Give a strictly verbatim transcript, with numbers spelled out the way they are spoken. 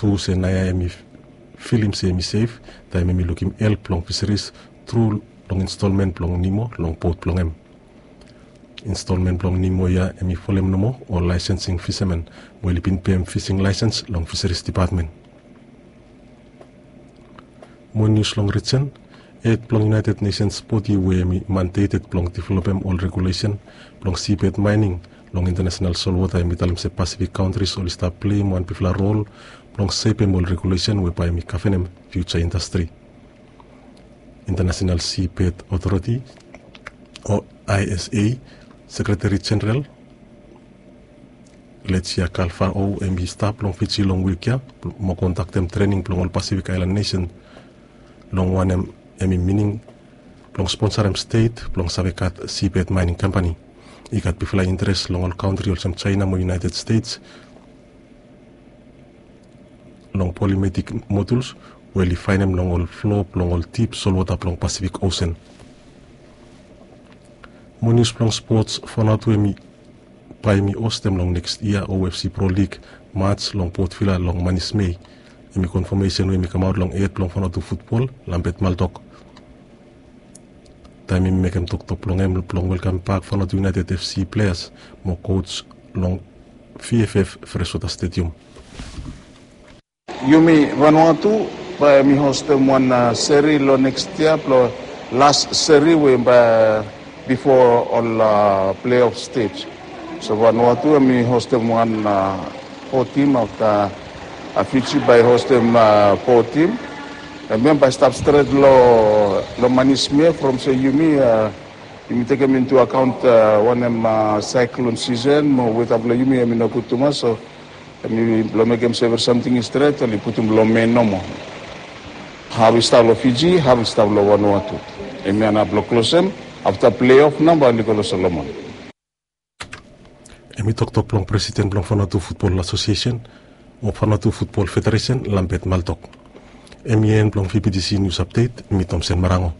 Tru se naoia hem i filim se hem i sef taem hem i lukim help blong fiseris tru long instalmen blong Nemo long bot blong hem. Instalmen blong Nemo ia hem i folem nomo ol laesensing fisamen we oli bin pem fising laesens long fiseris depatmen. Mo nius long rijen, hed blong United Nations bodi we hem i mandeted blong developem ol regulesen blong sibed maening long intanasenal solwota hem i talem se Pasifik kauntris oli stap pleim wan bigfala rol blong sepem ol regulesen we bae hem i gavenem fiuja indastri. Intanasenal Sibed Otoriti o I S A Sekreteri Jeneral Lesia Kalfao hem i stap long Fiji long wik ia mo kondaktem trening blong ol Pasifik aelan nesen long wanem hem i mining blong sponsarem stet blong save gat sibed maening kampani. I gat bigfala interes long ol kauntri olsem Jaena mo United Stets long polimetik moduls we oli faenem long ol flo blong ol dip solwota blong Pasifik Osen. Mo nius blong spots, Vanuatu hem i bae hem i hostem long nekst yia O F C Pro League mats long Port Vila long manis Mei. Hem i konfamesen we hem i kamaot long hed blong Vanuatu futbol, Lambert Maltok, taem hem i mekem toktok blong hem blong welkambak Vanuatu United F C pleas mo kos long V F F Freshwater Stadium. Yumi Vanuatu bae yumi hostem wan seri long nekst yia blong las seri we bae bifo ol pleof stej. So Vanuatu yumi hostem wan fo tim afta Fiji bae hostem fo tim. Hem bae stap stret long manis Mei from se yumi yumi tekem intu akaont wanem saeklon sisen mo weta blong yumi yumi nogud tumas. So yumi blong mekem se evri samting i stret oli putum long Mei nomo. Haf i stap long Fiji, haf i stap long Vanuatu. Yumi anap long klosem afta pleof nao bae oli go long Solomon. Hem i toktok blong presiden blong Vanuatu Futbol Asosiesen o Vanuatu Futbol Federesen, Lambert Maltok. Hem i en blong V B T C nius apdet. Mi Tomsen Marango.